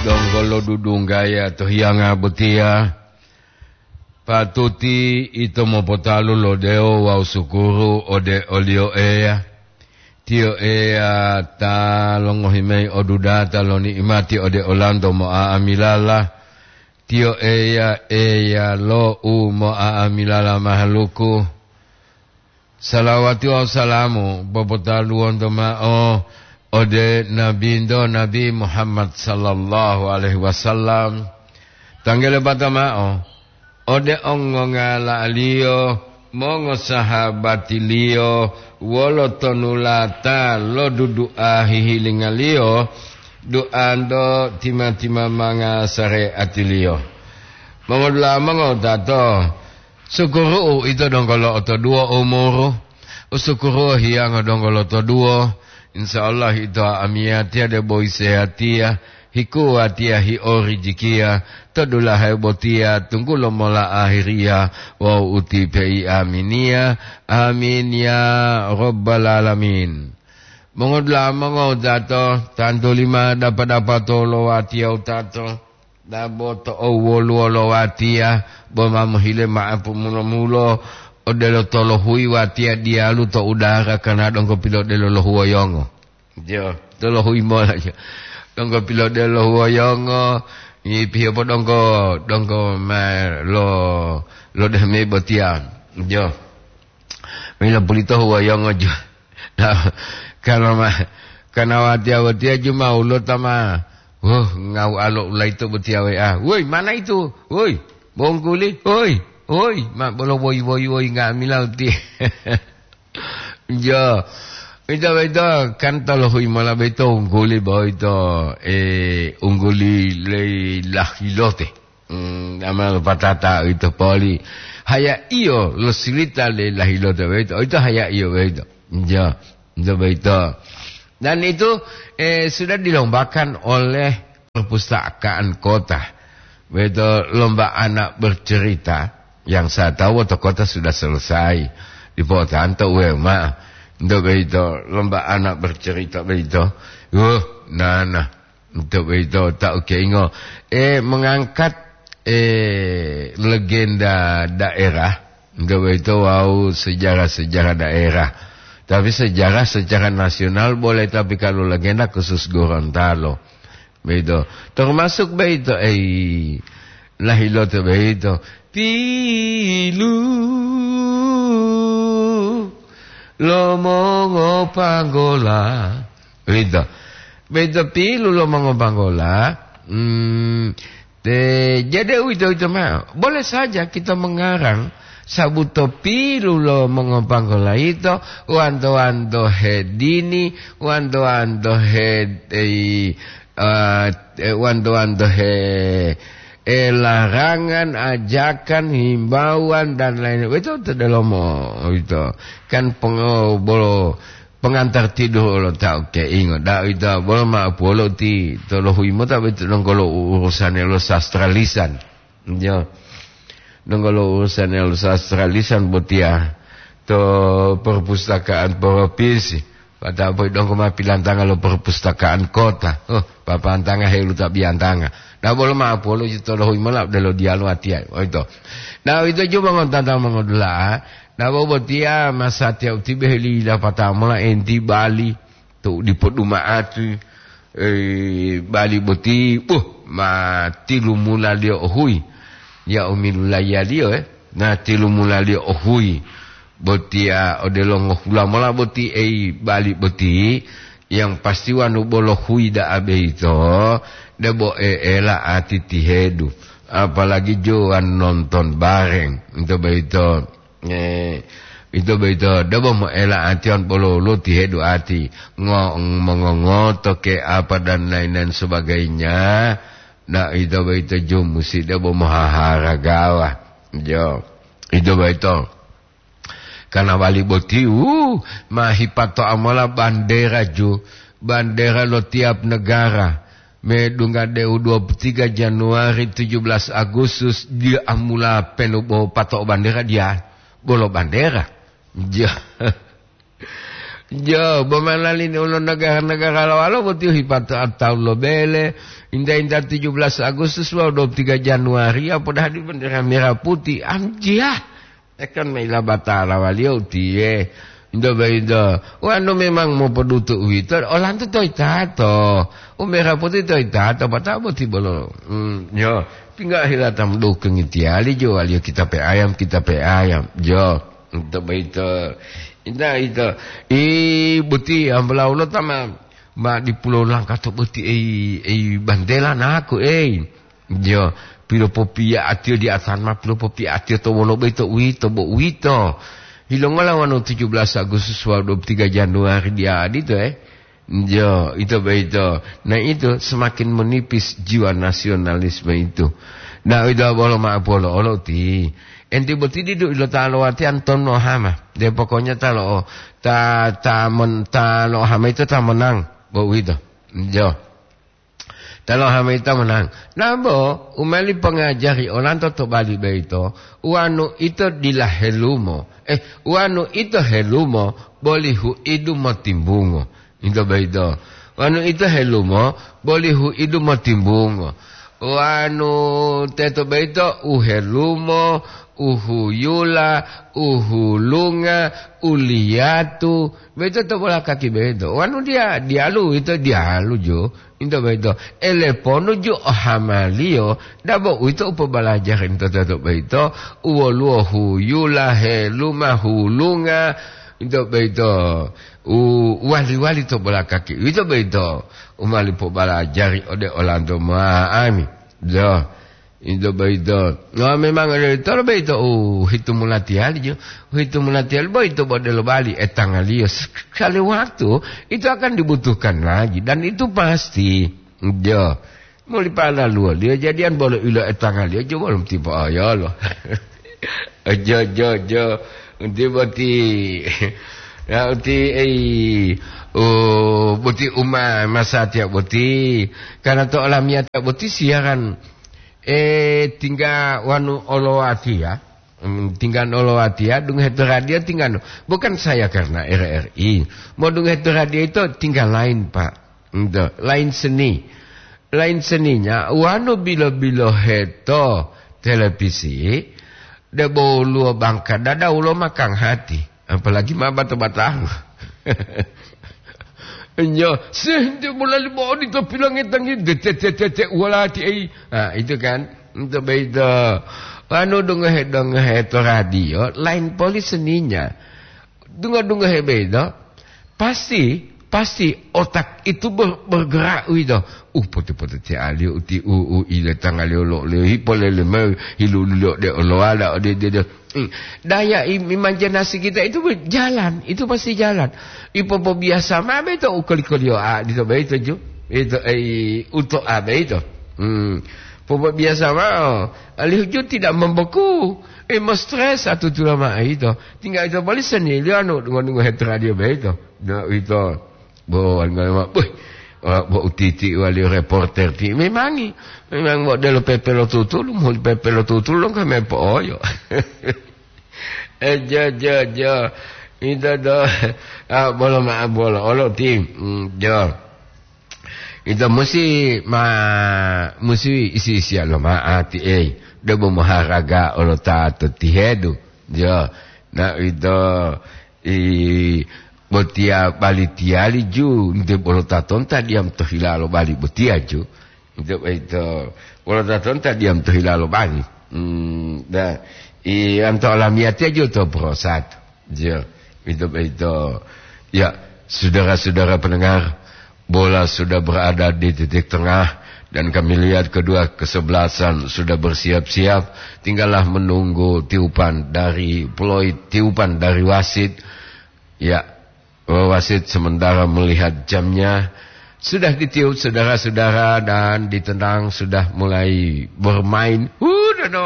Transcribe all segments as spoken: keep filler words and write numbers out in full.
Donggo lodudunggaya to hiyanga botiya, patuti ito mopotalu lo dewo wawu sukuru ode o-Liyo Eya. Tiyo Eya ta longohi mayi odudata lo ni'imati ode olanto mo'a'amilala. Tiyo Eya, Eya lo u mo'a'amilala mahaluku. Salawati wawu salamu popotaluwonto mao ode Nabinto, Nabi Muhammad sallallahu alaihi wasallam. Tanggele bata mao ode ongongala'aliyo, mongosahabatiliyo, wolo tonulata lo dudu'a hihilingaliyo, du'anto tima-timamanga sare'atiliyo. Mongodula'a mongotato, sukuru'u ito donggo lo'otoduwo umuru, usukuru'u hiyanga donggo lotoduwo, insya Allah ito amiyatiya debo isehatiya, hikuwatiya hi'orijikiya, to dulahe botiya tunggulo mola ahiriya wawu utipe'i aminiya. Amin ya rabbal alamin. Mongodula'a mongotato, tantu lima dapa-dapato lo watiya utato, dabo to owoluwo lo watiya, bo ma mohile ma'apu mulo-mulo, odelo tolohuyi watiya diyalu to udara kana donggo pilodelo lo huwoyongo. Jo, tolohuyi mola jo. Donggo pilodelo lo huwoyongo, ngipiyo po donggo, donggo ma lo, lo dehme botiya. Jo. Mila pulito huwoyongo jo. Nah, kana ma, kana watiya-watiya ju ma ulo tama. Huh, ngau alo ulaito botiya we a. Woi, mana itu? Woi, bongkuli. Woi, woi, ma bolo woi, woi, woi, nga'amila uti. Jo. Ito, ito, kan tolohuyi mola beito ungguli boito, eh, ungguli lei lahilote. Hmm, ama patata ito poli. Haya iyo lo silita lei lahilote boito. Ito haya iyo boito. Jo. Ito boito. Dan itu, eh, sudah dilombakan oleh perpustakaan kota. Boito lomba anak bercerita, yang saya tahu to kota sudah selesai. Dipotanto uwe ma. Untuk boito lomba anak bercerita boito. Wuh, nana. Untuk boito tak keingo. Eh, mengangkat, eh, legenda daerah. Untuk boito wau sejarah-sejarah daerah. Tapi sejarah secara nasional boleh, tapi kalau legenda khusus Gorontalo. Beito. Termasuk beito, eh, lahilote beito. Pilu lo mongopanggola. Beito. Beito pilu lo mongopanggola. Hmm, te, jadi uwito-wito mao. Boleh saja kita mengarang sabuto pilu lo mongopanggola ito, wanto-wanto hedini, wanto-wanto he, eh, eh, eh, wanto-wanto he, eh, larangan, ajakan, himbauan, dan lain-lain. Itu to delomo, itu. Kan pengo-, bolo pengantar tidur lo tau keingo. Da ita bolo ma puolo ti tolohui mota betu dongkolo urusane lo sastra lisan. Ya. Dongkolo urusane lo sastra lisan botia to perpustakaan provinsi. Pada boy dongko ma pilantanga lo perpustakaan kota. Oh, papantanga helu ta biantanga. Na bolo ma apolo ji tolohui mola delo dialu atia. Oh, itu. Na itu juga ngontata mongodula. Na bobotia masatia utibe heli dapata mola enti Bali. Tu dipoduma'ati, eh, Bali boti, buh, ma tilumulaliyo ohui. Ya umilulaiya liyo, eh. Na tilumulaliyo ohui. Botiya odelo ngohula mola boti ei Bali boti, yang pasti wanu bolo hui da'a beito, debo e'ela ati tihedu. Apalagi jo wan nonton bareng, ento beito. Eh, ito boyito debo moela atiyon bolo lo tihedu ati, ngo-, mongongoto ke apa dan lain-lain sebagainya. Nah, ito boyito ju musi debo mohaharagawa. Jo, ito boyito. Karena wali boti, uh, mahipato amola bandera ju, bandera lo tiap negara. Medungga deu dua puluh tiga Januari, tujuh belas Agustus, dia amula penu bo pato bandera dia. Bolo bandera. Ja-, Jo, bo manali ni ulo negara-negara lawalo boti hipato atau lo bele, inda-inda tujuh belas Agustus wawu dua puluh tiga Januari, apo dahadi bendera merah putih, anjia. Ekon maila batala waliyo utiye. Indo baido, wanu memang mopodutu uwito, olanto toyitato. U merah putih toyitato, batao boti bolo. Hmm, jo, tinggal hilata mendukung itiyali jo, waliyo kita pe ayam, kita pe ayam. Jo, untuk baito. Inda ito, i boti ambalaulo tama, ma di pulau Langkato boti, ei, ei bandela naku, ei. Jo, pilopopiya atiyo di atama, pilopopiya atiyo to wolo boyito uwito bo uwito. Yilongola wonu tujuh belas Agustus wawu dua puluh tiga Januari diya adito, eh? Jo, ito boyito. Nah, itu semakin menipis jiwa nasionalisme itu. Nah, ito bolo ma'apolo olo ti. Enti boti didu ilo ta lowatiyan tonno hama. De pokoknya ta lo, ta, ta mon-, ta lo hama itu ta menang. Bo uwito. Jo. Ta lo hama ito menang. Nambo, u meli pongajari olanto to bali boyito, uwanu ito dila helumo. Eh, uwanu ito helumo, boli huidu motimbungo. Ito boyito. Uwanu ito helumo, boli huidu motimbungo. Uwanu teto boyito, u helumo, u huyula, u hulunga, u liyatu. Boyito to bola kaki boyito. Uwanu diya, diyalu ito diyalu jo. Into boyito, eleponu ju ohamaliyo, dabo uwito u pobalajari into teto boyito, u woluwo huyula, heluma, hulunga, into boyito, u wali-wali to bolakaki, uwito boyito u mali pobalajari ode olanto ma'ami. Do. Ito boyito. No, memang odito boyito u hitu mulatiyali jo. U hitu mulatiyali boyito bo delo bali etangaliyo. Sekali waktu itu akan dibutuhkan lagi dan itu pasti. Jo. Muli pala luwaliyo jadiyan bolo ilo etangaliyo jo bolo tipa oyolo. Jo, jo, jo. Unti boti. Ya, uti, ei, oh, boti uma masatiya boti. Karena to olamiyatiya boti siaran Eh, tingga wanu olowatiya, mm, tingga olowatiya, dungohe to radio tingga no. Bukan saya karena R R I. Mau dungohe to radio itu tingga lain, Pak. Ento, lain seni. Lain seninya, wanu bilo-bilohe to televisi, debo luo bangka dada ulo makang hati. Apalagi ma bato-batango. Nyo, sehingga mulai mau di to pilangetangi, de, te, te, te, te, walati, ei. Ah, itu kan, untuk begitu. Anu, dungohe, dungohe to radio, lain poli seninya. Dungo-dungohe begitu, pasti, pasti otak itu ber-, bergerak gitu. Uh, pote-pote ti aliyo uti, uh, uh, ile tangaliyo lo, le, hipolele mau, hilu-, lo, de, oloala, ode, de, de. Hmm. Daya im-, imajinasi kita itu berjalan, itu pasti jalan. Ipopobiasa mame to ukoli-koliyo a, dito beito ju. Itu, eh, uto a beito. Hmm. Popobiasa mao, alihu ju tidak membeku. Eh, mo stres atu tula ma ito. Tinggal ito bali seni, liyo anu, ngonungo hetradio beito. Nah, ito. Bo, wali ngolema, "Wih, wa-, bo utiti wali reporter ti." Memangi, memang bo delo pepe lo tutulu, mohuli pepe lo tutulu, dong kame po'oyo. Eh, jo, jo, jo. Ito do, ah, bolo ma-, bolo, olo ti, mm, jo. Ito musi ma-, musi isi-isiya lo ma'ati, ei. Debo moharaga olo ta to tihedu. Jo. Na ito, I, botiya bali tiyali ju, nte bolo tatonta diyam to hilalo bali botiya ju. Nte boyito, bolo tatonta diyam to hilalo bali. Hmm, da, i, anto olamiyatiya ju to prosat. Jo, ito boyito. Ya, saudara-saudara pendengar, bola sudah berada di titik tengah dan kami lihat kedua kesebelasan sudah bersiap-siap, tinggallah menunggu tiupan dari peluit, tiupan dari wasit. Ya, wasit sementara melihat jamnya. Sudah ditiup saudara-saudara dan ditendang sudah mulai bermain. Hu, dono,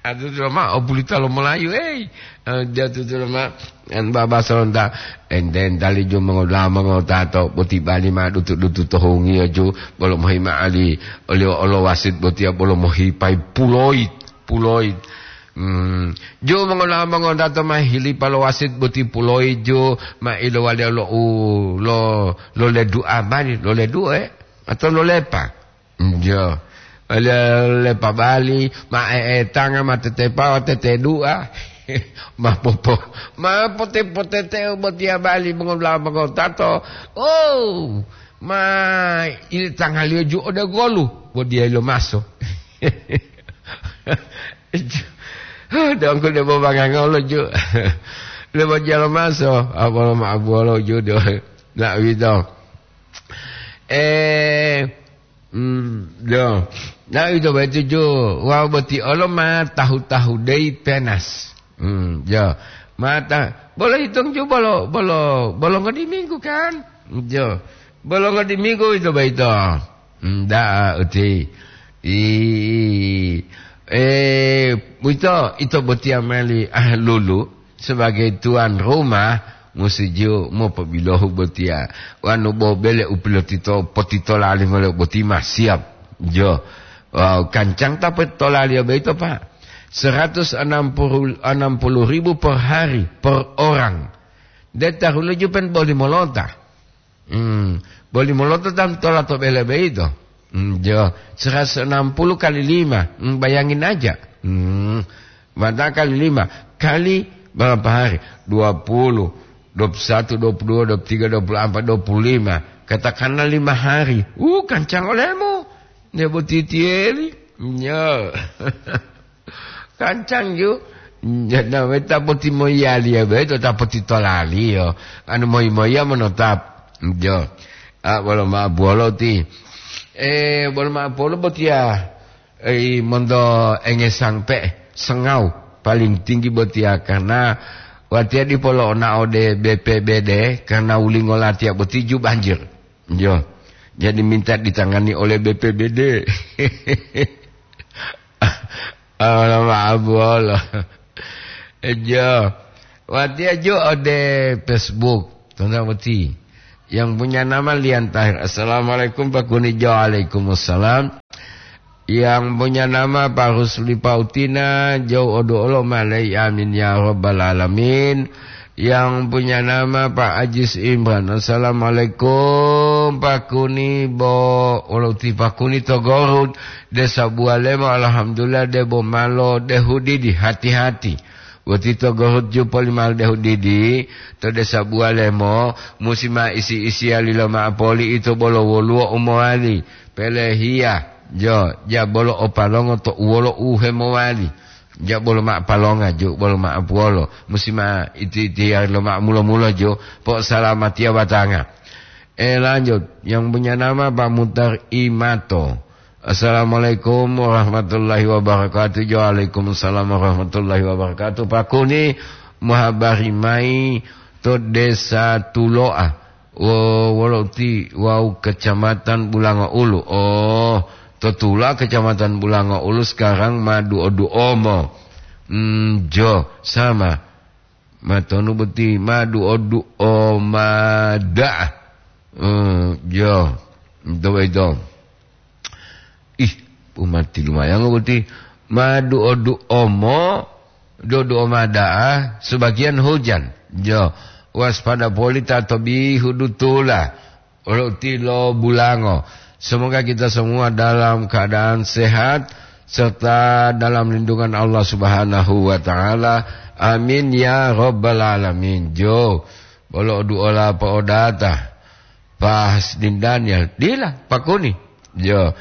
atu tulo ma, o bulita lo Melayu, ei. Eh, dia tu tulo ma, en baba sonda. Enten tali ju mengoda mengotato, boti bali ma dutu-dutu to hungiyo ju, bolo mohi ma ali, oli olo wasit botiya bolo mohi pai puloit, puloit. Hmm. Ju mongola-, mongodato ma hilipa lo wasit boti puloi ju ma ilowali lo u-, lo, lo ledu'a mani, lo ledu'e atau lo lepa. Jo. Lo lepa bali, ma e'etanga, ma tetepawa, tetedu'a. Ma popo-, ma pote-, poteteo botiya bali mongola-, mongodato. Oh, ma ile tangaliyo ju ode golu, bo diya lo maso. Dongku debo bangangolo ju. Debo jalo maso, apolo ma abuolo ju do. Na wito. Eh, mm, yo. Na wito betu ju. Wau boti olo ma tahu-tahu dei penas. Hmm, yo. Mata, bolo hitung ju bolo, bolo, bolo ngodi minggu kan? Yo. Bolo ngodi minggu ito baito. Ndak uti. I, eh, ito, ito botiya mali ahlulu sebagai tuan rumah musi ju mopobilohu botiya. Wanu bo bele u pilotito, potitola limo le boti ma siap. Jo. Wow, kancang ta potitolaliyo boyito, Pak. Seratus enam puluh, enam puluh ribu per hari, per orang. De tahulo ju pen boli molota. Hmm, boli molota tam tola to bele boyito. Hmm, jo, seratus enam puluh kali lima. Hmm, bayangin aja. Hmm, mata kali lima. Kali berapa hari? Dua puluh, dua puluh satu, dua puluh dua, dua puluh tiga, dua puluh empat, dua puluh lima. Katakanlah lima hari. Uh, kancang olemu. Nebo titieli. Nyo. Kancang ju. Nyo, na weta poti moyali ya, beto ta poti tolali yo. Anu moi-moiya monotap. Jo. Ah, bolo ma bolo ti. Eh, bolo ma bolo botiya. Eh, monto engesang pe, sengau. Paling tinggi botiya karena watiya dipo lo'ona ode B P B D karena wulingo latiya boti ju banjir. Jo. Jadi minta ditangani oleh B P B D. Allah maaf, Allah. Jo. Watiya ju ode Facebook. Tonton boti. Yang punya nama Lian Tahir. Assalamualaikum, Pak Kuni. Jo, waalaikumsalam. Yang punya nama Pak Rusli Pautina, jauh odo olo malai, amin ya rabbal alamin. Yang punya nama Pak Ajis Imran. Assalamualaikum, Pak Kuni, bo, olo ti Pak Kuni to Gorut, Desa Bualemo, alhamdulillah, debo malo, dehudidi, hati-hati. Wati to Gorut ju poli malo dehudidi, to Desa Bualemo, musi ma isi-isiya lilo ma'o poli ito bolo woluwo u mowali. Pelehiya, jo, ja bolo o palongo to uwolo u hemowali. Ja bolo ma palonga jo, bolo ma apuwolo. Musi ma iti-itiya lo ma mulo-mulo jo, po salamatiya batanga. Eh, lanjut. Yang punya nama Pak Mutar Imato. Assalamualaikum warahmatullahi wabarakatuh. Waalaikumsalam warahmatullahi wabarakatuh. Pak Kuni, muhabari mai to Desa Tuloa. Wo-, wolo ti wau Kecamatan Bulango Ulu. Oh, to Tula Kecamatan Bulango Ulu sekarang ma duo-duomo. Hmm, jo, sama. Ma tonu boti ma duo-duoma da'a. Hmm, jo. Itu, itu. Ih, umati lumayan boti. Ma duo-duomo, duo-duoma da'a, sebagian hujan. Jo, waspada poli ta to bihu dutula. Olo tilo Bulango. Semoga kita semua dalam keadaan sehat serta dalam lindungan Allah Subhanahu wa Ta'ala. Amin ya Rabbal Alamin. Jo, bolo duola po'odata. Pak Hasdin Daniel. Dila, Pak Kuni. Jo.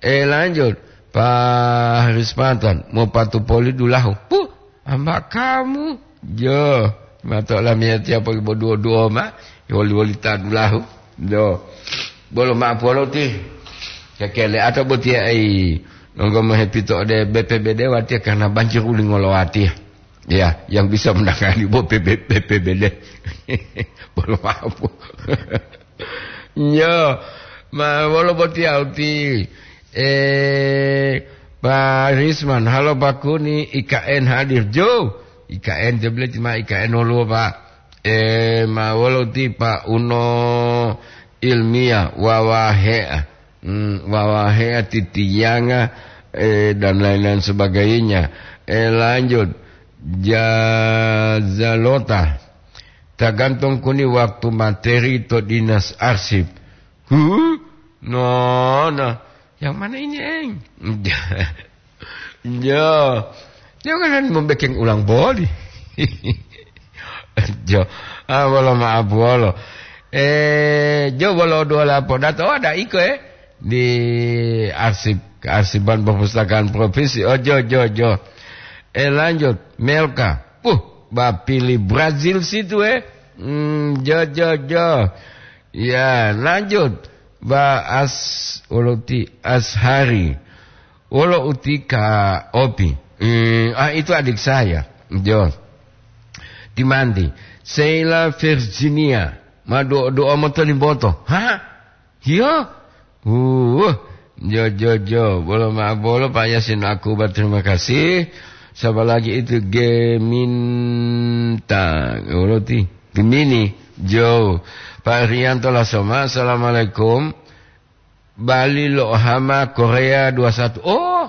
Eh, lanjut. Pak Haris Patan. Mau patu poli dulahu. Puh, ambak kamu. Jo. Mato lamiyatiya poli bo duo-duoma. Woli-woli ta dulahu. Jo. Bolo ma'o polo ti. Kekele atau botiya ai. Nonggo mohepito ode B P B D watiya karena banjir uli ngolowatiya. Ya, yang bisa menangani bo P B, P P B D. Bolo maaf. Nyo, ma wolo boti auti. Eh, Pak Risman, halo Pak Kuni, I K N hadir. Jo, I K N, dia bilang cuma I K N wolo, Pak. Eh, ma wolo ti Pak Uno Ilmiah, Wawahe. Hmm, Wawahe titiyanga, eh, dan lain-lain sebagainya. Eh, lanjut. Jazalota. Tagantung kuni waktu materi to dinas arsip. Huh? No, no. Yang mana ini, Eng? Jo. Jangan membekeng ulang boli. Jo. Ah, bolo maaf, bolo. Eh, jo, bolo dua lapo. Dato ada iko, eh? Di arsip, kearsipan perpustakaan provinsi. Oh, jo, jo, jo. Eh, lanjut. Melka. Uh, bapili Brazil situ, eh? Hmm, jo, jo, jo. Ya, lanjut. Ba As-, wolo ti Ashari. Wolo uti Ka Opi. Hmm, ah, itu adik saya. Jo. Timanti. Sheila Virginia. Ma do-, doa moto limboto. Hah? Hiyo? Uh, jo, jo, jo. Bolo ma bolo, Pak Yasin Akuba, terima kasih. Siapa lagi itu? Geminta. Wolo ti? Gemini. Jo. Pak Rianto Lasoma, assalamualaikum. Bali lo hama Korea dua satu. Oh,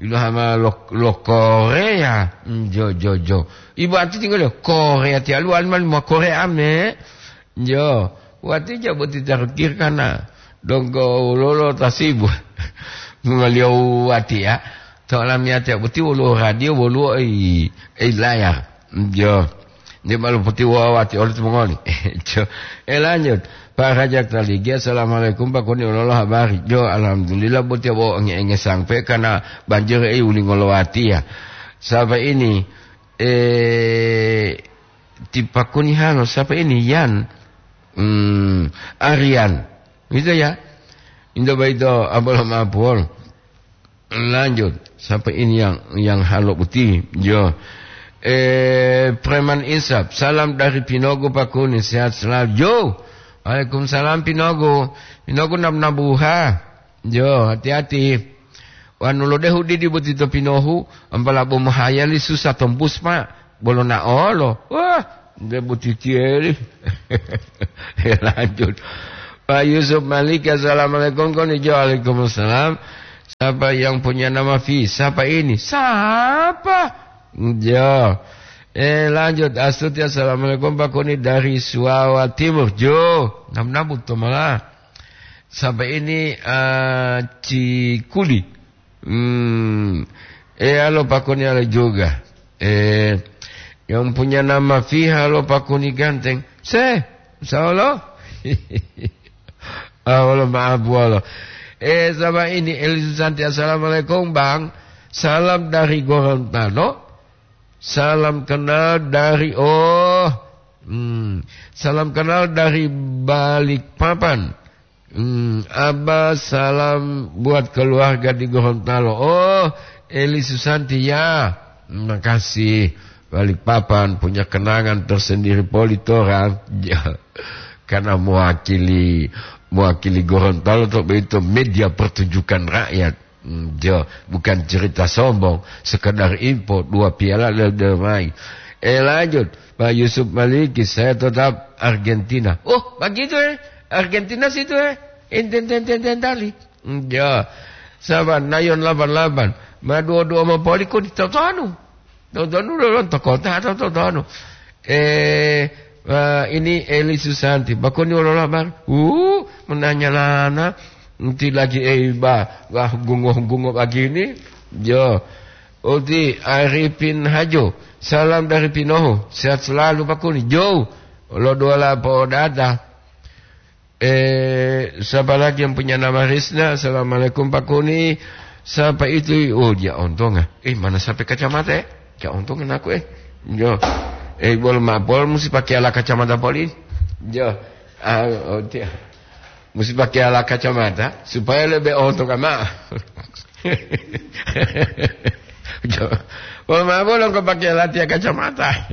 ilo hama lo, lo Korea. Hmm, jo, jo, jo. Ibu ati tinggal di Korea, tialu alman mo Korea me. Jo, wati ja boti tarukir kana. Donggo lolo tasibu. Mungaliyo wati ya. To alamiyati boti wolo radio, wolo ei, ei layar. Jo. Nde malu poti wawati oleh timongoli. Jo. Eh, lanjut. Pak Rajak Taligi, assalamualaikum, Pak Koni, ololo habari? Jo, alhamdulillah, boti bo enge-enge sampai karena banjir, eh, uli ngolowati ya. Siapa ini? Eh, ti Pak Koni halo, siapa ini? Yan. Hmm, Aryan. Gitu ya. Indo baito, abolo mapol. Lanjut, siapa ini yang, yang halo putih? Jo. Eh, Preman Insap, salam dari Pinogo, Pak Kuni, sehat selalu. Jo, waalaikumsalam Pinogo. Pinogo nab-, nabuha. Jo, hati-hati. Wanu lodehu didi boti to Pinohu, ampala bo mohayali susah tombus, Pak. Bolo naolo. Wah, nde boti tiyeli. Ya, lanjut. Pak Yusuf Malik, assalamualaikum. Koni jo, waalaikumsalam. Siapa yang punya nama V? Siapa ini? Siapa? Jo. Eh, lanjut. Astuti, assalamualaikum, Pak Koni dari Suawa Timur. Jo. Nam-nabut to malah. Siapa ini? Eh, Cikuli. Hmm. Eh, halo, Pak Koni, halo juga. Eh, yang punya nama V, halo, Pak Koni ganteng. Se, insya Allah. Ah, wala maaf, wala. Eh, sama ini, Eli Susanti, assalamualaikum, Bang. Salam dari Gorontalo. Salam kenal dari, oh, hmm, salam kenal dari Balikpapan. Hmm, Abah, salam buat keluarga di Gorontalo. Oh, Eli Susanti ya. Makasih. Balikpapan punya kenangan tersendiri poli torang. Ya, karena mewakili, mewakili Gorontalo to begitu media pertunjukan rakyat. Hmm, jo, bukan cerita sombong, sekedar info, dua piala le-, le-, mai. Eh, lanjut, Pak Yusuf Maliki, saya tetap Argentina. Oh, begitu, eh? Argentina situ, eh? Enten, ten, ten, ten, tali. Hmm, jo. Sabar, Nayon lapan lapan. Ma dua dua ma poli kok di totonu? Totonu lo lonto kota atau totonu? Eh, eh, ini Eli Susanti. Bakoni wolola, Bang? Uh, menanya lana. Nanti lagi, eh, ba, wah, gungo-gungo begini. Jo. Oti Arifin Hajo. Salam dari Pinoho. Sehat selalu, Bakoni. Jo. Lo dua lapo data. Eh, siapa lagi yang punya nama Risna? Assalamualaikum, Pak Kuni. Siapa itu? Oh, dia ontong, ah. Eh, mana sampai kacamata, eh? Dia ontong aku, eh. Yo. Eh, bol ma-, bol mesti pakai ala kacamata poli. Yo. Ah, oh, dia. Mesti pakai ala kacamata supaya lebih ontong, ama. Yo. Bol ma-, bol kok pakai ala tia kacamata.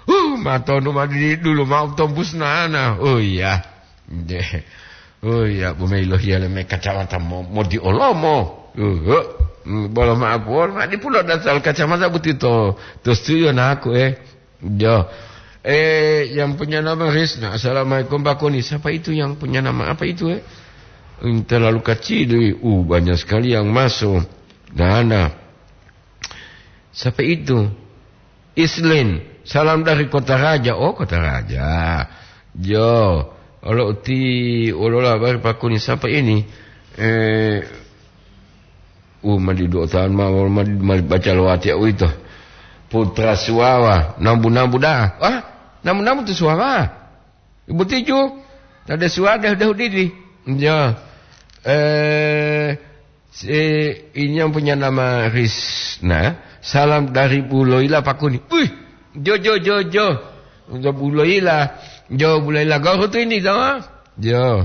Uh, matonu ma di dulu mau tombus nana. Oh iya. Nde. Oh iya, bu mei lohiya le me kacamata mo, mo di olomo. Uh, uh. Hmm, bolo ma apuwol, ma di pulo dasal kacamata buti to, to studio naku, eh. Jo. Eh, yang punya nama Risna. Assalamualaikum, Pak Kuni. Siapa itu yang punya nama apa itu, eh? Terlalu kecil, uh, banyak sekali yang masuk. Dana. Siapa itu? Islin, salam dari Kota Raja. Oh, Kota Raja. Yo, olo uti, olola bari pakuni siapa ini? Eh, uh, madi dua tahun ma, ma, ma baca lowati uito. Putra Suwawa, nambu-nambu dah. Ah, nambu-nambu tu Suwawa. Ibu tiju, tade Suwawa dah, dah udidi. Ya. Eh, si, ini yang punya nama Risna. Salam dari Bu Loila Pakuni. Wih, jo, jo, jo, jo. Untuk Bu Loila. Jo, Bu Loila Goro tu ini, tahu? Jo.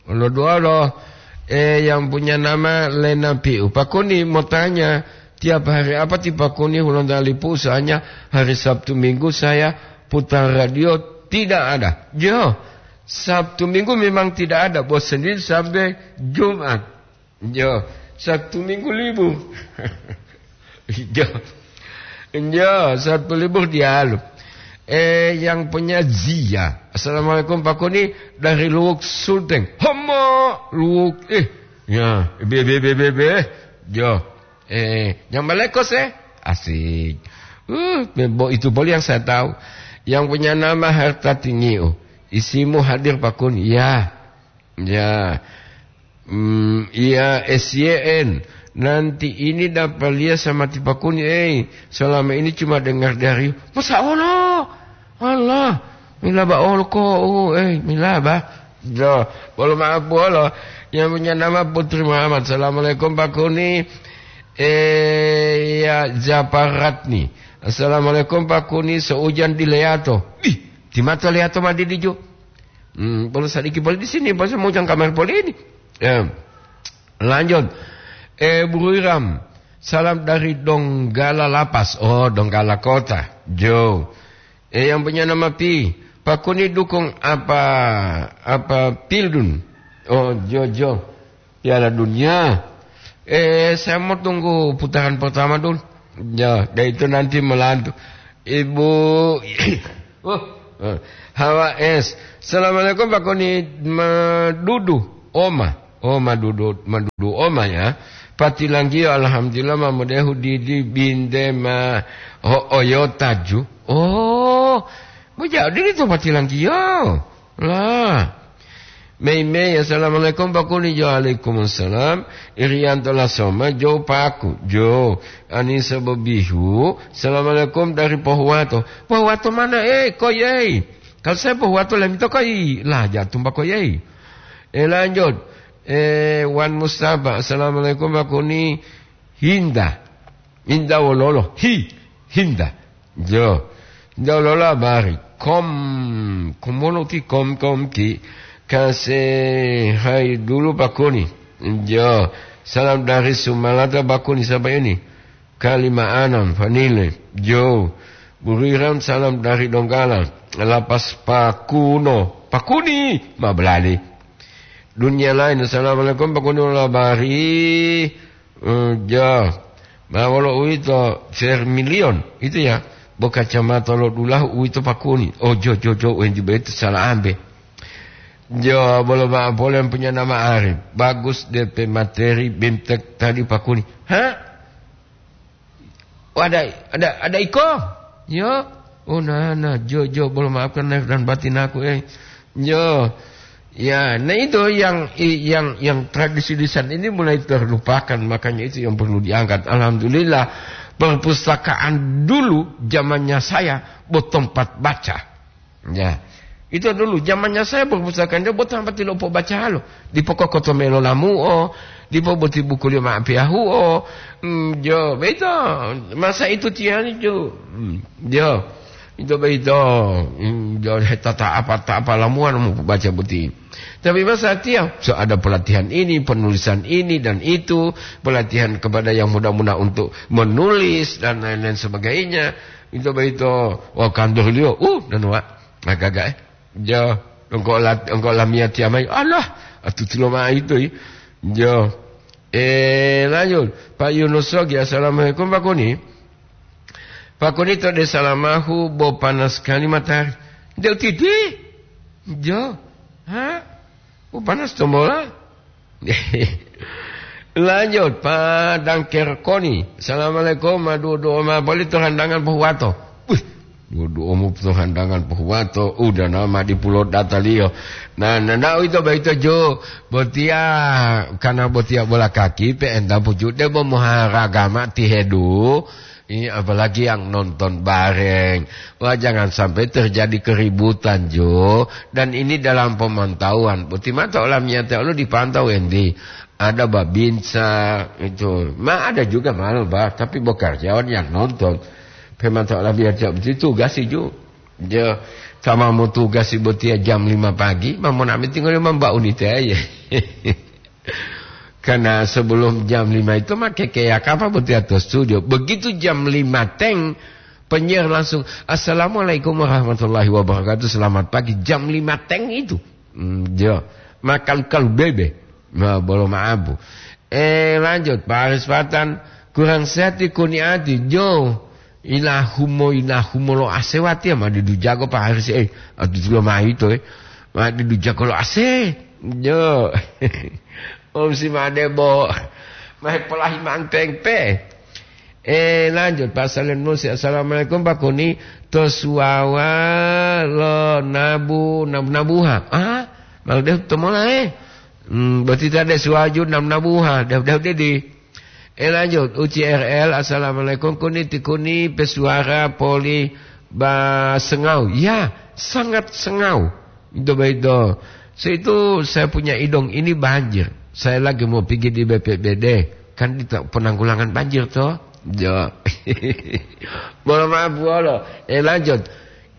Lo dua lo. Eh, yang punya nama Lena Piu. Pakuni mau tanya, tiap hari apa ti Pakuni Hulonta Lipu? Soalnya hari Sabtu Minggu saya putar radio tidak ada. Jo, Sabtu Minggu memang tidak ada. Bos Senin sampai Jumat. Jo, Sabtu Minggu libur. Jo. Jo, Sabtu libur dialu. Eh, yang punya Zia. Assalamualaikum Pakuni dari Luwuk Sulteng. Homo Luwuk. Eh, ya, be, be, be, be, be. Jo. Eh, yang Malekos, eh? Asik. Uh, bo itu boleh yang saya tahu. Yang punya nama Harta Tingiu. Isimu hadir Pakuni. Ya. Ya. Hmm, iya, S Y N. Nanti ini dapat lihat sama ti Pakuni, eh. Selama ini cuma dengar dari, Masa Allah? Allah. Mila ba olo ko, oh, eh, mila ba. Jo, bolo maaf bolo. Yang punya nama Putri Muhammad. Assalamualaikum Pakuni. Eh, ya, Japaratni. Assalamualaikum Pakuni, seujan di Leato. Ih, di mata Leato ma di dijo. Hmm, perlu sadiki poli di sini, pas mau jang kamar poli ini. Ya. Lanjut. Eh, Bu Iram, salam dari Donggala Lapas. Oh, Donggala Kota. Jo. Eh, yang punya nama Pi. Pakuni dukung apa, apa Pildun? Oh, jo, jo. Piala Dunia. Eh, saya mau tunggu putaran pertama dulu. Ya, dan itu nanti melantu. Ibu, oh, eh, Hawa S. Assalamualaikum Pakuni, Madudu, Oma. Oh, Madudu, Madudu Oma ya. Patilanggiyo, alhamdulillah, mamudehu didi binte ma ho oyotaju. Oh, bujau didi to Patilanggiyo. Lah. Mei-mei, assalamualaikum Pakuni. Jo, alaikum salam. Irianto Lasoma, jo Paku, jo. Anisa Bobihu, assalamualaikum dari Pohuwato. Pohuwato mana, eh, koi, eh? Kalau saya Pohuwato lemito koi, lah, jatumba koi, eh. Eh, lanjut. Eh, Wan Mustafa, assalamualaikum Pakuni. Hinda. Hinda wololo. Hi. Hinda. Jo. Hinda wololo habari. Kom. Komono ti kom, kom ti. Kase hai dulu Pakuni. Jo. Salam dari Sumalata Pakuni. Siapa ini? Kalima Anam. Fanile. Jo. Buriram salam dari Donggala. Lapas Pakuno. Pakuni. Ma belali. Dunia lain. Assalamualaikum Pakuni, labari. Eh, ja. Ma wolo uwito, Vermilion, itu ya. Bo kacamata lo dulahu uwito Pakuni. Oh, jo, jo, jo, wenju betu salah ambe. Jo, bolo ma pole yang punya nama Arif. Bagus D P materi bimtek tadi Pakuni. Ha? Oh, ada, ada, ada iko? Yo. Oh, nah, nah, jo, jo, bolo maafkan lahir dan batin aku, eh. Yo. Ya, nah itu yang, yang, yang tradisi lisan ini mulai terlupakan, makanya itu yang perlu diangkat. Alhamdulillah, perpustakaan dulu zamannya saya, bo tempat baca. Ya. Itu dulu zamannya saya perpustakaan dia bo tempat lo po baca lo. Di pokok koto melo lamu, oh, dipo boti buku liyo ma'apiyahu'o. Mm, jo, beito. Masa itu tiani, jo. Mm, jo. Itu beito. Mm, jo, hetata apa, ta apa lamuan mau baca boti. Tapi masa tiap, so ada pelatihan ini, penulisan ini dan itu, pelatihan kepada yang muda-muda untuk menulis dan lain-lain sebagainya. Itu beito. Oh, kantor liyo. Uh, dan wa. Agak-agak, eh. Jo, engkau lat-, engkau lamia tiamai. Alah, atuti lo ma itu, eh. Jo. Eh, lanjut. Pak Yunus Sogi, assalamualaikum, Pak Kuni. Pak Kuni, to desa lamahu, bo panas sekali matahari. Nde utiti? Jo. Ha? Bo panas tombola? Lanjut, Pak Dangker Koni. Assalamualaikum, ma duo-duo ma boli to handangan pohuwato. Wih, duo-duo mu to handangan pohuwato, udah nama di pulo dataliyo. Nah, nah, nah, itu baik itu, Jo. Botiya, karena botiya bola kaki, P N W, debo moharagama tihedu. Ini apalagi yang nonton bareng. Wah, jangan sampai terjadi keributan, Jo. Dan ini dalam pemantauan. Boti mata olamiyate olo dipantau, endi. Ada babinsa, itu. Ma ada juga malah, bah. Tapi bo karyawan yang nonton. Pemantau olamiyate boti tugas, Jo. Jo, sama mau tugas, botiya jam lima pagi, ma monami tinggal mamba unite aja. Karena sebelum jam lima itu mah kekeyaka apa botiya to studio. Begitu jam lima teng, penyiar langsung, "Assalamualaikum warahmatullahi wabarakatuh, selamat pagi." Jam lima teng itu. Hmm, jo. Makan kalu bebe. Nah, bolo maabu. Eh, lanjut, Pak Haris Patan, kurang sehat ti kuniati, Jo. Ilahumo, ilahumo lo ase watiya, ma didu jago Pak Haris, eh, atu tulo ma ito, eh. Ma didu jago lo ase. Jo. Om si made bo. Ma hepolahi manteng pe. Eh, lanjut, Pak Salim Nusi. Assalamualaikum, Pak Kuni. To suwawa lo nabu, nabu-nabuha. Ah, malu deh to mola, eh. Hmm, berarti tadi suwaju nabu-nabuha. Deh, deh, deh, di. Eh, lanjut, U C R L, "Assalamualaikum, Kuni ti Kuni pesuara poli ba sengau." Ya, sangat sengau. Itu baik, do. Seitu saya punya idong ini banjir. Saya lagi mau pergi di B P B D. Kan di penanggulangan banjir, toh? Jo. Mohon maaf, bolo. Eh, lanjut.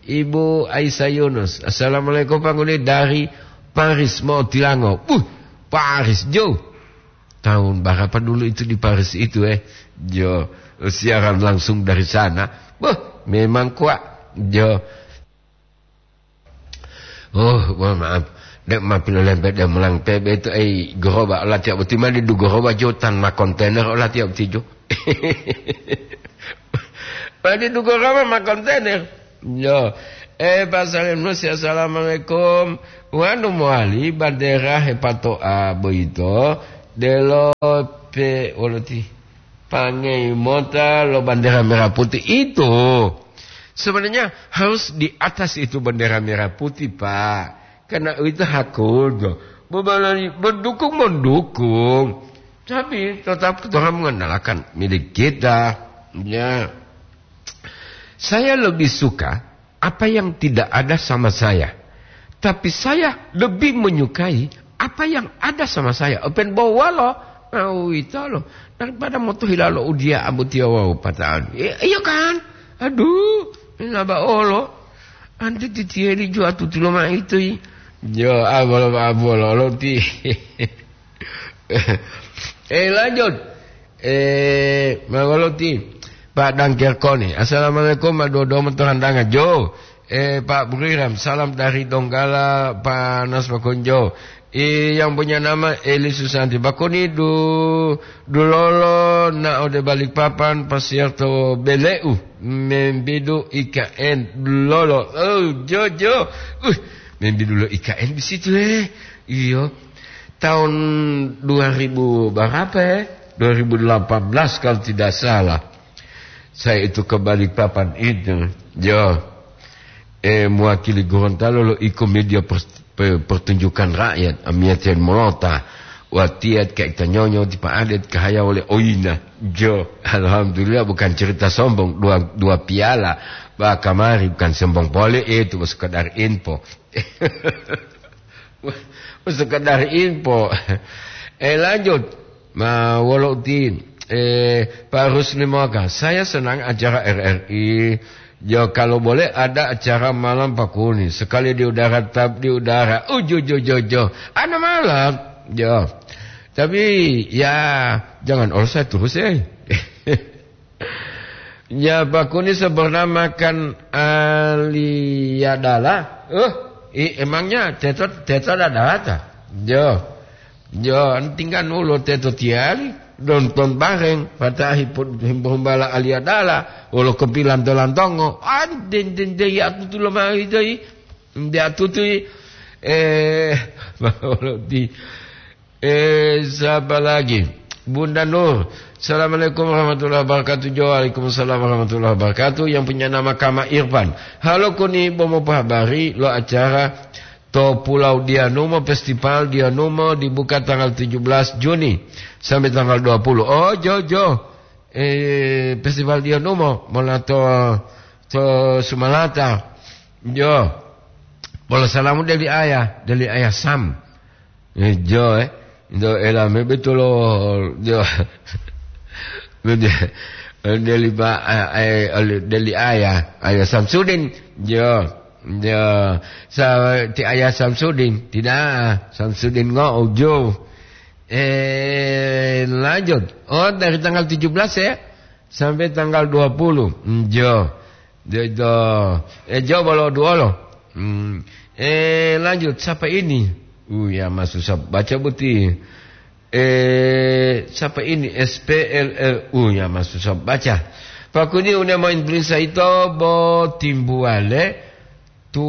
Ibu Aisyah Yunus. "Assalamualaikum, Pak Kuni, dari Paris, mau tilango." Buh, Paris, Jo. Tahun berapa dulu itu di Paris itu, eh? Jo, siaran langsung dari sana. Wah, memang kuat. Jo. Oh, mohon maaf. Dek ma pilolempet dia mulang P B itu, eh, goroba olatiya boti ma didu goroba Jo, tan ma kontainer olatiya boti Jo. Ma didu goroba ma kontainer. Jo. Eh, Pak Salim Nusi, assalamualaikum. Wanu mowali bandera hepatoa boyito, delo pe woloti. Pangei mota lo bandera merah putih itu. Sebenarnya harus di atas itu bandera merah putih, Pak. Karena itu hak kultur. Bebalani mendukung, mendukung. Tapi tetap kita mengandalkan milik kita. Ya. Saya lebih suka apa yang tidak ada sama saya. Tapi saya lebih menyukai apa yang ada sama saya. Open bawalo, uwitolo. Daripada motohilalo udiya abutiya wawu pata'an. I-, iya kan? Aduh, naba olo. Anti titiyeli juwa tutulo ma itu, i. Jo, abolo, abolo, loti. Eh, lanjut. Eh, mangoloti. Pak Dangker Koni. Assalamualaikum, Pak Dodo, Matorandangan. Jo. Eh, Pak Buriram, salam dari Donggala, Pak Nas Makonjo. Eh, yang punya nama Eli Susanti. Pak Koni du-, dulolo na ode Balikpapan, pasiar to beleu, membidu I K N dulolo. Oh, jo, jo. Uh, membidu lo I K N di situ, eh. Iyo. Tahun dua ribu berapa, ya? Dua ribu delapan belas kalau tidak salah. Saya itu ke Balikpapan itu. Jo. Eh, mewakili Gorontalo lo iko media per-, pe-, pertunjukan rakyat, amiyatiya molota. Watiya ka ita nyonyo ti Pak Adet kahaya oleh Oina. Jo, alhamdulillah bukan cerita sombong, dua, dua piala. Bah, kamari bukan sombong pole itu, sekedar info. Sekedar info. Eh, lanjut. Ma, wolo uti, eh, Pak Rusli Moka, saya senang acara R R I. Jo, kalau boleh ada acara malam Pak Kuni. Sekali di udara, tetap di udara. Ujo, jo, jo, jo. Ada malam. Jo. Tapi, ya, jangan olsa terus, eh. Ya, Pak Kuni sebenarnya makan aliadala. Eh, i-, emangnya teto, teto ada data? Jo. Jo, tinggal nulo teto tiali, nonton bareng, patahi pun humbala aliadala, wolo kopi lanto-lantongo. Ah, den, den, den, ya tutu lo mau itu, i. Dia tutu, i. Eh, di Eh, siapa lagi? Bunda Nur. Assalamualaikum warahmatullahi wabarakatuh. Jo, waalaikumsalam warahmatullahi wabarakatuh. Yang punya nama Kama Irfan. Halo Kuni, bomo pahabari lo acara to Pulau Dianumo, Festival Dianumo dibuka tanggal tujuh belas Juni sampai tanggal dua puluh. Oh, jo, jo. Eh, Festival Dianumo mola to, to Sumalata. Jo. Polo salamu dari ayah, dari ayah Sam. Eh, jo, eh. Indo elame betulo, jo. Deli ba, eh, eh, deli ayah, ayah Samsudin. Jo, jo. Sa, ti ayah Samsudin, tidak, Samsudin ngo, jo. Eh, lanjut. Oh, dari tanggal tujuh belas ya, sampai tanggal dua puluh. Jo. Jo, jo. Eh, jo, bolo duolo. Hmm. Eh, lanjut. Siapa ini? Uh, ya, Mas, susah baca buti. Eh, siapa ini? S P L L U, ya, Mas, susah baca. Pakuni une main prinsa ito bo timbuale tu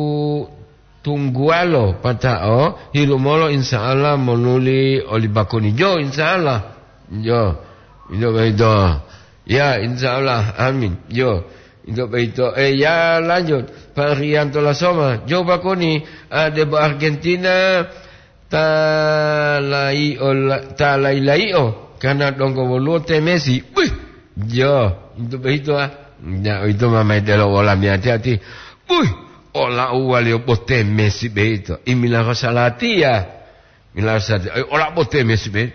tunggualo pata'o hilumolo, insya Allah monuli oli bakuni jo, insya Allah. Jo, indo beito. Ya, insya Allah. Amin. Jo, indo beito. Eh, ya, lanjut. Pak Rianto Lasoma, jo bakuni, ah, debo Argentina, ta lai-, ola-, ta lai-laio, karena donggo woluwo te Messi. Wih, jo, indo beito, ah. Ya, itu mamai delo wola mi hati-hati. Wih, ola uwaliyo bo te Messi beito. Imila ko salatiya. Milasade, eh, ola bo te Messi be.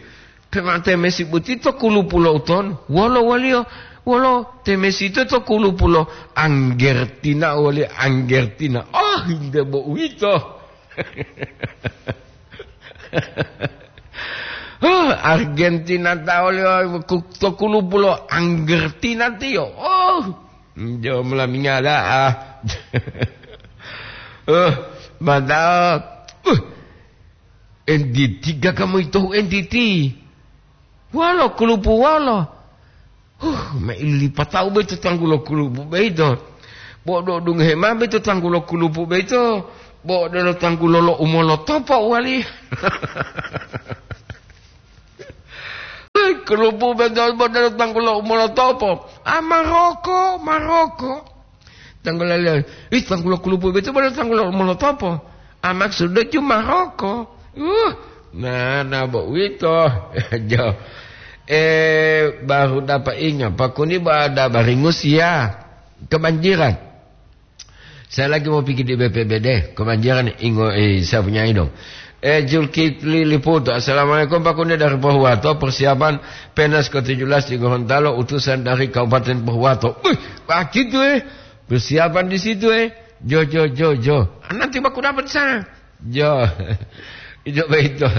Pema te Messi boti to kulupu lo uton. Wolo waliyo, wolo te Messi to, to kulupu lo Anggertina wali Anggertina. Oh, hinde bo uwito. Oh, Argentina ta waliyo ku-, to kulupu lo Anggertina tiyo. Oh, jo mula mingala, ah. Oh, mantap. Uh, N D T, gaga moyitohu N D T. Wolo kulupu wolo. Huh, ma ilipatau boyito tanggulo kulupu boyito. Bo do dungohe ma boyito tanggulo kulupu boyito. Bo delo tanggulo lo umolotopo wali. Kulupu boyito bo delo tanggulo umolotopo. Ah, Maroko, Maroko. Tanggulo le-, ih, tanggulo kulupu boyito bo delo tanggulo umolotopo. Ah, maksudnya cuma rokok. Uh, nah, nah, bo uwito. Jo. Eh, baru dapat ingat, Pak Kuni bo ada baringus ya. Kebanjiran. Saya lagi mau pikir di B P B D, kebanjiran ingo, eh, saya punya dong. Eh, Julkipli Liputo, "Assalamualaikum Pak Kuni dari Pohuwato, persiapan Penas ke tujuh belas di Gorontalo, utusan dari Kabupaten Pohuwato." Wih, begitu, eh. Persiapan di situ, eh. Jo, jo, jo, jo. Ah, nanti baku dapat di sana. Jo. Itu begitu.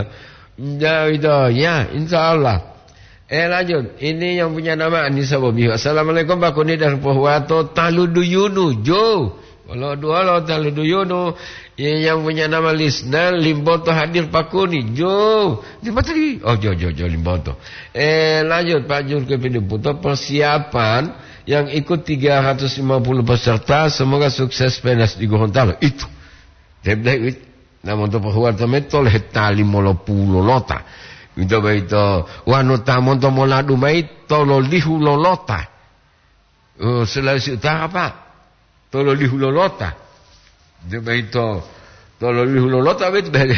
Jo, itu. Ya, insya Allah. Eh, lanjut. Ini yang punya nama Anissa Bobiho. "Assalamualaikum, Pak Kuni dari Pohuwato, Taluduyunu." Jo. Kalau dua lo Taluduyunu. Ini yang punya nama Lisna Limboto hadir, Pak Kuni. Jo. Limboto lagi. Oh, jo, jo, jo, Limboto. Eh, lanjut, Pak Jurke Pidi Puto. Persiapan yang ikut tiga ratus lima puluh peserta, semoga sukses Penas di Gorontalo. Itu. Saya bilang, "Wit, na monto Pohuwato me tolo hetali molopulo lota." Ito boyito, wanu ta monto Moladu mai tolo lihu lolota. Oh, Sulawesi Utara, Pak. Tolo lihu lolota. Ito boyito, tolo lihu lolota, wit, be-,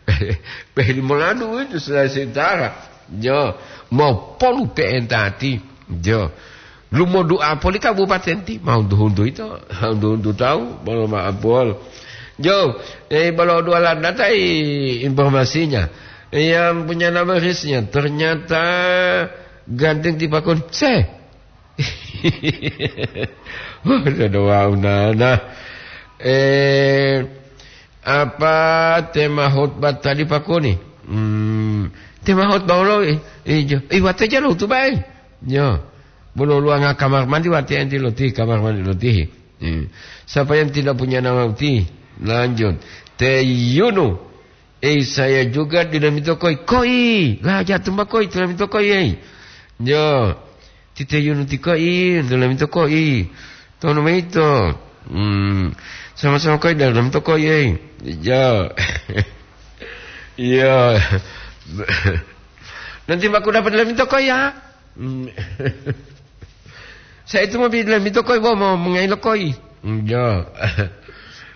be-, be-, Moladu, wit, Sulawesi Utara. Jo, mopolu pe'entati. Jo. Lumodu'a poli kabupaten ti, ma huntu-huntu ito, huntu-huntu tawu, bolo ma'apol. Jo, eh, bolo dua landa tai informasinya. Yang punya nama Risnya, ternyata ganteng ti Pak Kuni. Se. Wah, ada doa unana. Eh, apa tema khotbah tadi, Pak Kuni? Hmm, tema khotbah lo, eh, eh, jo. Eh, wate jalo tu bae. Yo. Bolo luanga kamar mandi wate enti loti kamar mandi loti. Hmm. Siapa yang tidak punya nama uti? Lanjut. Te Yunu. Eh, saya juga di dalam itu koi. Koi. Lah, jatuh mbak koi, di dalam itu koi, eh. Yo. Tite Yunu ti koi, di dalam itu koi. Tono maito. Hmm. Sama-sama koi dalam itu koi, eh. Yo. Iya. Nanti aku dapat lemito koi ya. Saya itu mau bilang lemito koi, bo mau mengai lo koi. Yo.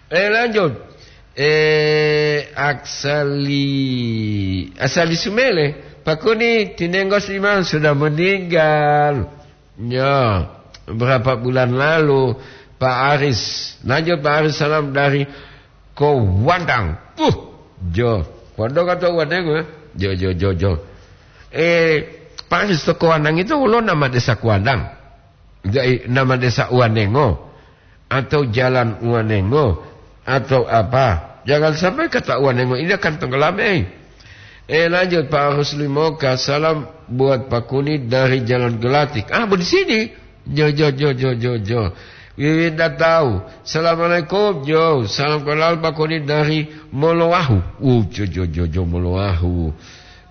Eh, lanjut. Eh, Aksali, Asali Sumele, Pak Kuni, tinenggo si Imam sudah meninggal. Ya, berapa bulan lalu, Pak Aris. Lanjut, Pak Aris, salam dari Kowandang. Uh, jo. Kowandang atau Wanengo, ya? Jo, jo, jo, jo. Eh, Pak Aris, to Kowandang itu ulo nama desa Kowandang. Jadi, nama desa Wanengo. Atau jalan Wanengo. Atau apa. Jangan sampai kata Wanengo ini akan tenggelam, eh. Eh, lanjut, Pak Rusli Moka. Salam buat Pak Kuni dari Jalan Gelatik. Ah, di sini. Jo, jo, jo, jo, jo, jo. Wiwinda tahu. Assalamualaikum, jo. Salam kenal Pak Kuni dari Molowahu. Uh, jo, jo, jo, jo, Molowahu.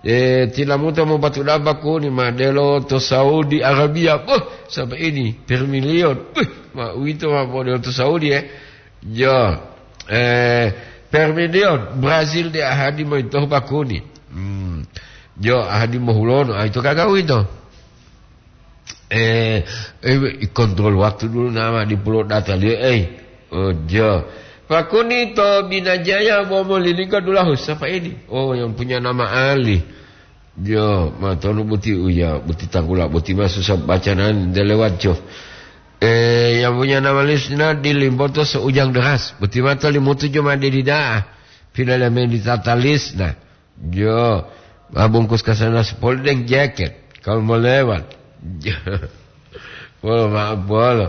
Eh, tilamuta mo batu daba Kuni, ma delo to Saudi Arabia. Boh, sampai ini, per milion. Boh, ma uwito ma modelo to Saudi, eh. Jo, eh, per milion, Brazil de ahadi moyitohu bakuni. Hmm. Jo, ahadi mohulono, ah, ito kaga uwito. Eh, eh, kontrol waktu dulu nama di Pulau Data, liyo, eh. Oh, jo. Pakuni to Binajaya, bo molilingga dulahu. Siapa ini? Oh, yang punya nama Ali. Jo, ma tonu buti uya, buti tanggula, buti ma susah baca nan de lewat jo. Eh, yang punya nama Lisna di Limboto seujang deras. Buti ma to Limutu jo ma de dida. Pina le main di tata Lisna. Jo, ma bungkus ka sana sepuluh deng jaket. Kalau mau lewat. Jo. Polo, maaf, polo.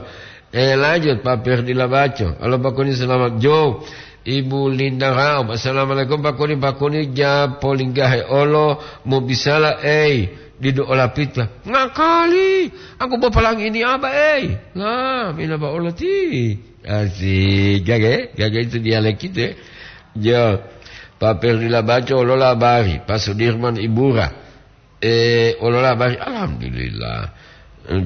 Eh, lanjut, Pak Perdi Labaco. Halo, Pak Kuni, selamat. Jo, Ibu Linda Raub. Assalamualaikum, Pak Kuni. Pak Kuni, ja polinggahe olo, mo bisala, ei, didu ola pita. Ngakali, aku bo palang ini aba, ei. Lah, mina ba ola ti. Asik, gage, gage itu dialek itu, ya. Jo, Pak Perdi Labaco, olo labari, Pak Sudirman Ibura. Eh, olola bari, alhamdulillah.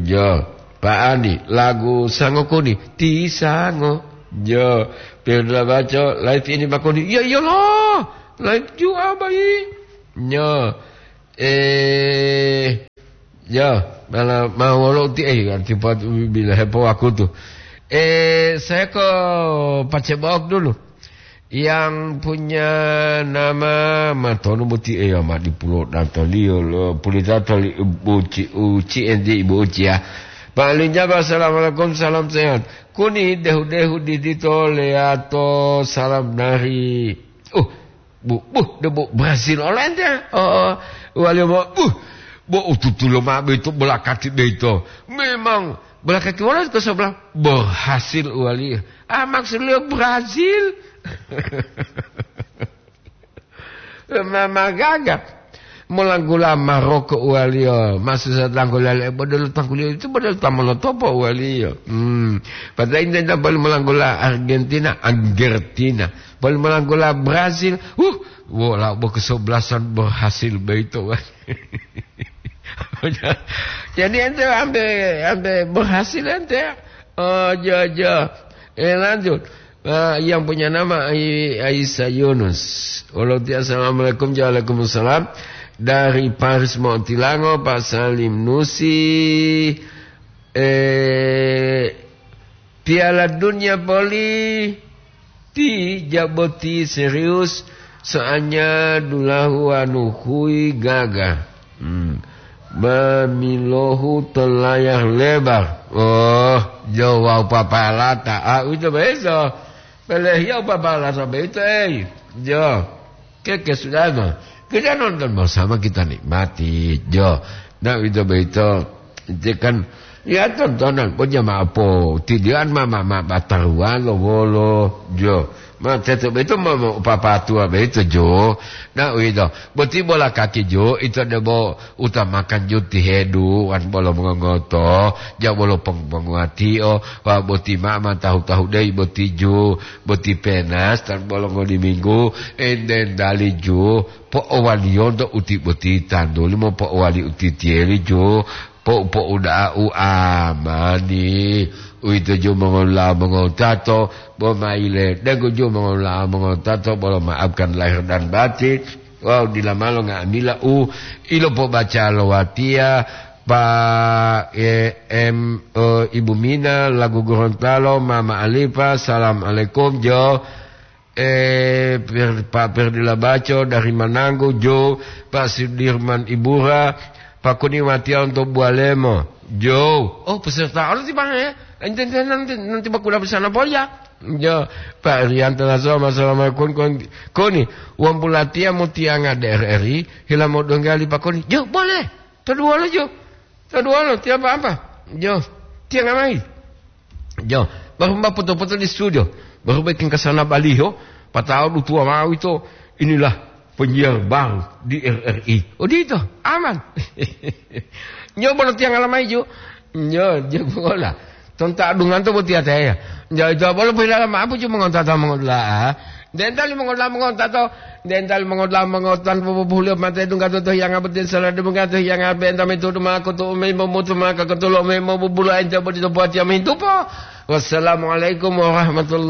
Jo, Pak Andi, lagu Sango Kuni, ti Sango. Jo, Pirda baco, live ini Pak Kuni. Iya, iyalah. Live juga, Bayi. Jo, eh, jo, malah mau wolo ti, eh, arti buat bila hepo aku tuh. Eh, saya ke Pacebok dulu. Yang punya nama Matono boti, eh, ma di pulo datoliyo lo, pulita toli Ibu Uci, Uci enti Ibu Uci ya. Pak Linjaba, assalamualaikum, salam sehat. Kuni dehu-dehu di dito leato, salam dari, uh, bu, bu, de bu Brazil, oleh ente. Oh, oh. Wali mo, uh, bo ututulo ma beito, belakati beito. Memang belakati wala ke sebelah berhasil wali. Ah, maksud beliau Brazil. Ma-, magaga. Molanggula Maroko uwaliyo, masu sa tangguliyo, eh, bodolo tangguliyo itu bodolo ta monotopo uwaliyo. Hmm. Padahal ini tidak boleh molanggula Argentina, Argentina. Boleh molanggula Brazil. Uh, wola bo kesebelasan berhasil begitu. Jadi ente ampe, ampe berhasil ente. Oh, jo, jo. Eh, lanjut. Ah, yang punya nama Ai-, Aisyah Yunus. Walaupun assalamualaikum, waalaikumsalam. Dari Paris Montilango, Pak Salim Nusi. Eh, Piala Dunia poli ti jaboti serius, soalnya dulahu anu hui gaga. Hmm. Mamilohu to layar lebar. Oh, jo wau papalata. Ah, uwito boyito. Pelehiyau papalata boyito, ei. Jo. Keke sudano. Kita nonton bersama, kita nikmati. Jo. Nah, uwito boyito. Itu kan, ya, tontonan pun jamaah po. Tidian ma, ma, ma, bataruan lo wolo. Jo. Ma, teto boyito ma, ma, papatua boyito, jo. Nah, uwito. Boti bola kaki, jo. Ito debo utamakan, jo, ti hedu, wan bolo mongongoto. Ja bolo peng-, penguatio. Wa boti ma, ma, tahu-tahu dei boti, jo. Boti penas, tan bolo ngodi minggu. Enden dali, jo. Po'owaliyonto uti boti tanduli, mopo'owali uti tiyeli, jo. Po-, po'uda'a u amani. Uwito ju mongolula'a mongotato, bo maile denggo ju mongolula'a mongotato, bolo maafkan lahir dan batin. Wawu dila malo nga'amila u ilopobacalo watiya, Pa, e, em, e, Ibu Mina, lagu Gorontalo, Mama Alifa, salam alaikum, jo. E, Per-, Pak Perdi Labaco dari Mananggu, jo. Pak Sudirman Ibura, Pak Kuni watiya untuk Bualemo, jo. Oh, peserta olo ti Bang, ya? Ente, ente nanti, nanti bakula bersama Polya. Jo, Pak Rianto Nasoma, assalamualaikum, Kon-, Koni. Wong bulatiya mutiyanga D R R I, hila modonggali Pak Koni. Jo, boleh. Toduwolo, jo. Toduwolo, tiya apa-apa. Jo, tiyanga mayi. Jo, baru mbak foto-foto di studio. Baru bikin ke sana baliho, patau dutua mau itu. Inilah penyiar baru di R R I. Odito, aman. Jo, bolo tiyanga la mayi, jo. Jo, jo, bola. Tonta adungan to botiya teya. Jo, ito bolo pohilala ma'apu, jo, mongontata mongodula'a. Dentali mongola mongontato, dentali mongola mongotan popopuhuliyo mate dungga to tohiyanga botiya sala dungga tohiyanga benta mitudu ma'o kutu umi momutu ma'o kakatulo umi mobubulu ente bodi to buwatiya mintupo. Wassalamualaikum warahmatullahi